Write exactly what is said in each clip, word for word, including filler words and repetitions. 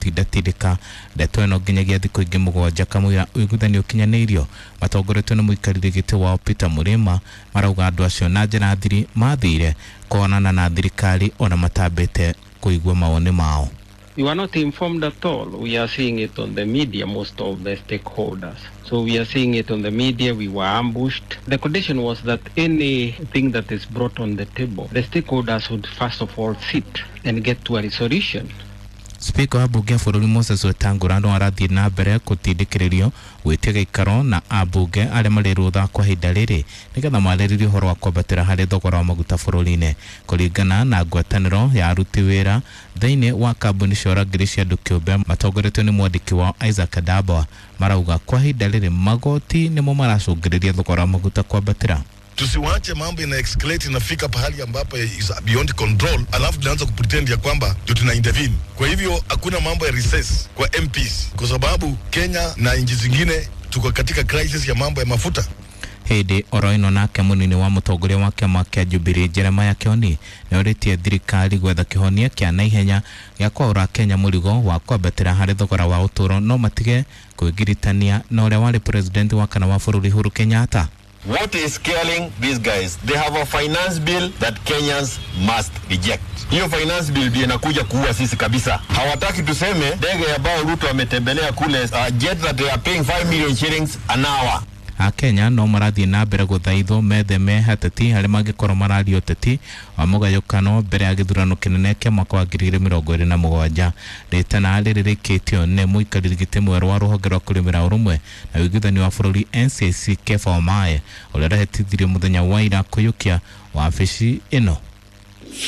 Gũtindatindĩka ndeto ĩno nginyagia thikũ ingĩ mũgwanja kamũira ũiguithanio ũkinyanĩirio. Matongoretio nĩ mũikarĩri gĩtĩ wao Peter Mũrĩma, marauga andũ acio na njĩra thiri mathire kuonana na thirikari ona matambĩte kũigua mawoni mao. We were not informed at all. We are seeing it on the media, most of the stakeholders. So we are seeing it on the media. We were ambushed. The condition was that anything that is brought on the table, the stakeholders would first of all sit and get to a resolution. Spika wa mbunge ya bũrũri Moses Wetangula no arathiĩ na mbere gũtindĩkĩrĩrio gwĩtia gĩikaro na ambunge arĩa marĩ rũtha kwa ihinda rĩrĩ nĩgetha marĩrĩrie ũhoro wa kwambatĩra harĩ thogora wa maguta bũrũri-inĩ. Kũringana na ngwatanĩro ya aruti wĩra thĩinĩ wa kambuni cia ũrangĩri cia andũ kĩũmbe matongoretio nĩ mwandĩki wao Isaac Adabwa, marauga kwa ihinda rĩrĩ magoti nĩmo maracũngĩrĩria thogora wa maguta kwambatĩra. Tusiwache mambo ina escalate, inafika pahali ambapo is beyond control, alafu tunaanza kupretend ya kwamba ndio tuna intervene. Kwa hivyo hakuna mambo ya recess kwa M Ps, kwa sababu Kenya na nchi zingine tuko katika crisis ya mambo ya mafuta. Hĩndĩ oro ĩno nake mũnini wa mũtongoria wa kĩama kĩa Jubilee Jeremiah Kioni nĩorĩtie thirikari gwetha kĩhonia kĩa naihenya gĩa kwaũra Kenya mũrigo wa kwambatĩra harĩ thogora wa ũtũũro, no matige kwĩgiritania na ũrĩa warĩ president wa kana wa bũrũri Uhuru Kenyatta. What is scaring these guys? They have a finance bill that Kenyans must reject. Hiyo finance bill ndio inakuja kuua sisi kabisa. Hawataki tuseme ndege ambayo Ruto ametembelea kule, uh, jet that they are paying five million shillings an hour. Akenya no marathiĩ na mbere gũthaithwo metheme ateti arĩa mangĩkorwo mararia ũteti wa mũgayũkano mbere ya gĩthurano kĩnene kĩa mwaka wa ngiri igĩrĩ mĩrongo ĩrĩ na mũgwanja. Rĩtana rĩrĩ rĩkĩtio nĩ mũikarĩri gĩtĩ mwerũ wa rũhonge rwa kũrĩmĩra ũrũmwe na ũiguithanio wa bũrũri N C I C Kepha Wamae, ũrĩa ũrahĩtithirio mũthenya wa ira kũiyũkia wabici ĩno.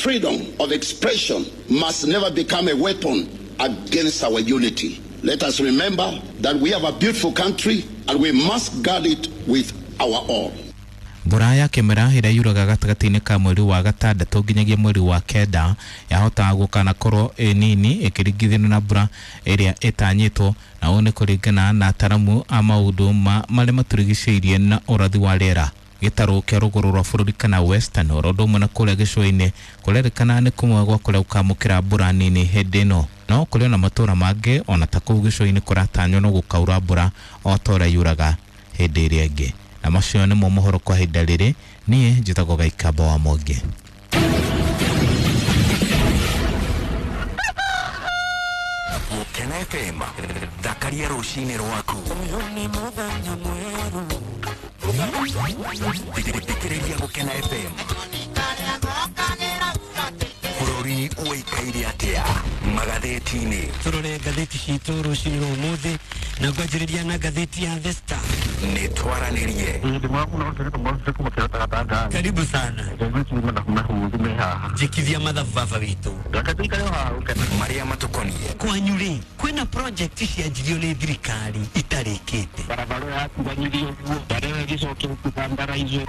Freedom of expression must never become a weapon against our unity. Let us remember that we have a beautiful country and we must guard it with our all. Mbura ya kĩmera ĩrĩa yuraga gatagatĩ-inĩ ka mweri wa gatandatũ nginyagia mweri wa kenda yahotaga gũkanakorwo ĩ nini ĩkĩringithanio na mbura ĩrĩa ĩtanyĩtwo, na ũũ nĩ kũringana na ataramu a maũndũ ma marĩa matũrigicĩirie na ũrathi wa rĩera. Gĩtarũ kĩa rũgũrũ rwa bũrũri kana Western oro ũndũ ũmwe na kũrĩa gĩcũa-inĩ kũrerĩkana nĩ kũmwe gwa kũrĩa gũkamũkĩra mbura nini hĩndĩ ĩno, no kũrĩ ona matũũra mangĩ ona ta kũu gĩcũa-inĩ kũratanywo no gũkaura mbura o ta ũrĩa yuraga hĩndĩ ĩrĩa ĩngĩ. Na macio nĩmo mohoro kwa ihinda rĩrĩ. Niĩ njĩtagwo Gaikamba wa Mwangi. Gukena F M, thakaria rũcinĩ rwaku. Thikĩrĩria Gũkena F M. Bũrũri ũikaire atĩa magathĩti-inĩ? Turore ngathĩti citũ rũcinĩ rwa ũmũthĩ na ngwanjĩrĩria na ngathĩti ya The Star. Nĩ twaranĩrie. Karibu sana, njĩkithia mathabu baba witũ. Marĩa matũkoniĩ. Kwanyu rĩ, kwĩna project cianjirio nĩ thirikari itarĩkĩte? Barabara yatiganyirio ũguo barĩa ĩgĩcokia gũtambaraizwo.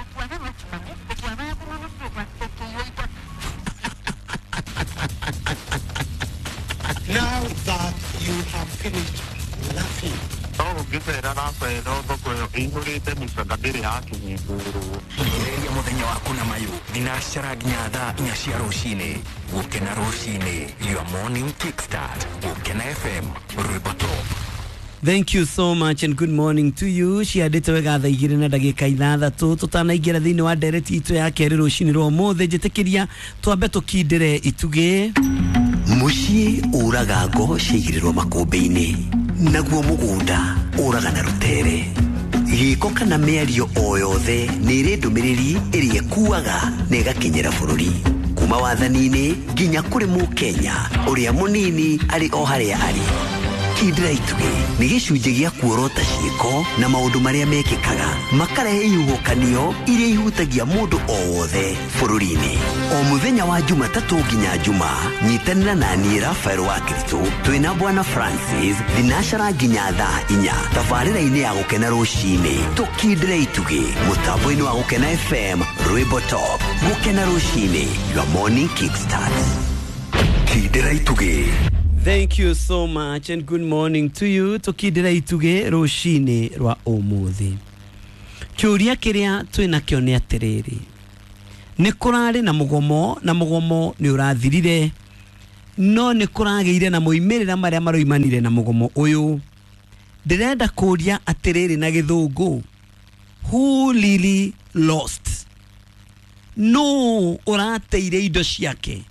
Now that you have finished laughing. No ũngĩcera racera thoko ĩyo ĩihũrĩte mĩcanga ndĩrĩ yakĩhingũrwo. Ambĩrĩria mũthenya waku na mayũ thinacara nginya thaa inya cia rũcinĩ. Gũkena rũcinĩ, your morning kickstart. Gũkena F M, rwĩmbo top. Thank you so much and good morning to you. Ciandĩte wega thaa igĩrĩ na ndagĩka ithathatũ. Tũtanaingĩra thĩinĩ wa ndereti itũ ya kerĩ rũcinĩ rwa ũmũthĩ, njĩtĩkĩria twambe tũkindĩre itugĩ. Mũciĩ ũraga ngo ciaigĩrĩrwo makũmbĩ-inĩ, naguo mũgũnda ũraga na rũtere. Gĩko kana mĩario o yothe nĩ ĩrĩ ndũmĩrĩri ĩrĩa ĩkuaga na ĩgakinyĩra bũrũri kuma wathani-inĩ nginya kũrĩ mũkenya ũrĩa mũnini arĩ o harĩa arĩ. Kindĩra itugĩ nĩ gĩcunjĩ gĩa kuorota ciĩko na maũndũ marĩa mekĩkaga makarehe ihuhũkanio iria ihutagia mũndũ o wothe bũrũri-inĩ. O mũthenya wa Jumatatũ nginya Juma, nyitanĩra na niĩ Rafael wa Kristo twĩna Bwana Francis thinacara nginya thaa inya tabarĩra-inĩ ya Gũkena rũcinĩ. Tũkindĩre itugĩ mũtambo-inĩ wa Gũkena F M, rwĩmbo top. Gũkena rũcinĩ, your morning kickstart. Kindĩra itugĩ. Thank you so much and good morning to you. Tũkindĩra itugĩ rũcinĩ rwa ũmũthĩ. Kĩũria kĩrĩa twĩnakĩo nĩ atĩrĩrĩ, nĩ kũrarĩ na mũgomo na mũgomo nĩ ũrathirire. No nĩ kũragĩire na moimĩrĩra marĩa maroimanire na mũgomo ũyũ. Ndĩrenda kũria atĩrĩrĩ na gĩthũngũ, who really lost? No ũrateire indo ciake?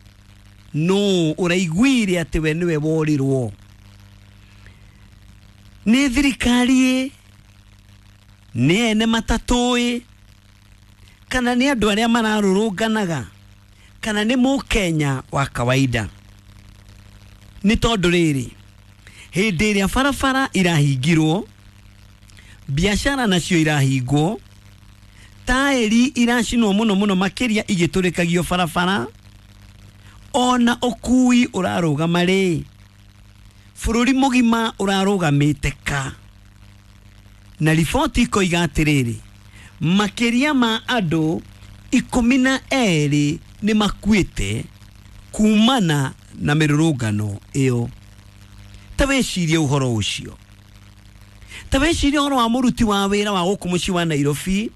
No ũraiguire atĩ we nĩwe worirwo? Nĩ thirikari ĩ? Nĩ ene matatũ ĩ? Kana nĩ andũ arĩa mararũrũnganaga? Kana nĩ mũkenya wa kawaida? Nĩ tondũ rĩrĩ, hĩndĩ ĩrĩa barabara irahingirwo, biacara nacio irahingwo, taĩri iracinwo mũno mũno makĩria igĩtũrĩkagio barabara, ona ũkui ũrarũgama rĩ, bũrũri mũgima ũrarũgamĩte ka. Na riboti ikoiga atĩrĩrĩ, makĩria ma andũ ikũmi na erĩ nĩ makuĩte kumana na mĩrũrũngano ĩyo. Ta wĩcirie ũhoro ũcio. Ta wĩcirie ũhoro wa mũruti wa wĩra wa gũkũ mũciĩ wa Nairobi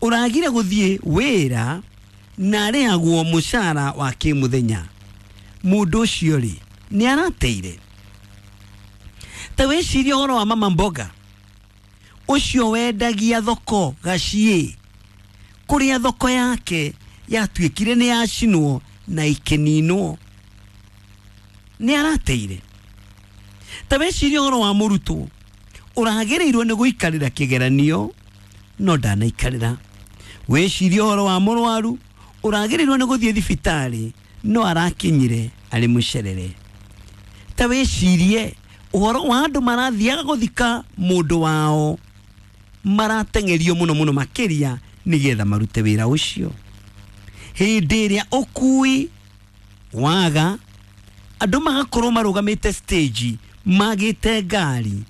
ũragire gũthiĩ wĩra na arĩhagwo mũcara wa kĩmũthenya. Mũndũ ũcio rĩ, nĩ arateire. Ta wĩcirie ũhoro wa mama mboga ũcio wendagia thoko gaciĩ, kũrĩa thoko yake yatuĩkire nĩ yacinwo na ĩkĩninwo, nĩ arateire. Ta wĩcirie ũhoro wa mũrutwo ũragĩrĩirwo nĩ gũikarĩra kĩgeranio no ndanaikarĩra. Wĩcirie ũhoro wa mũrwaru ũragĩrĩirwo nĩ gũthiĩ thibitarĩ no arakinyire arĩ mũcerere. Ta wĩcirie ũhoro wa andũ marathiaga gũthika mũndũ wao marateng'erio mũno mũno makĩria nĩgetha marute wĩra ũcio. Hĩndĩ ĩrĩa ũkui waga, andũ magakorwo marũgamĩte stage magĩte ngari,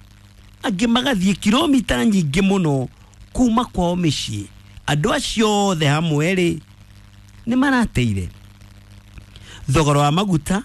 angĩ magathiĩ kilomita nyingĩ mũno kuma kwao mĩciĩ. Andũ acio othe hamwe rĩ, nĩ marateire. Thogora wa maguta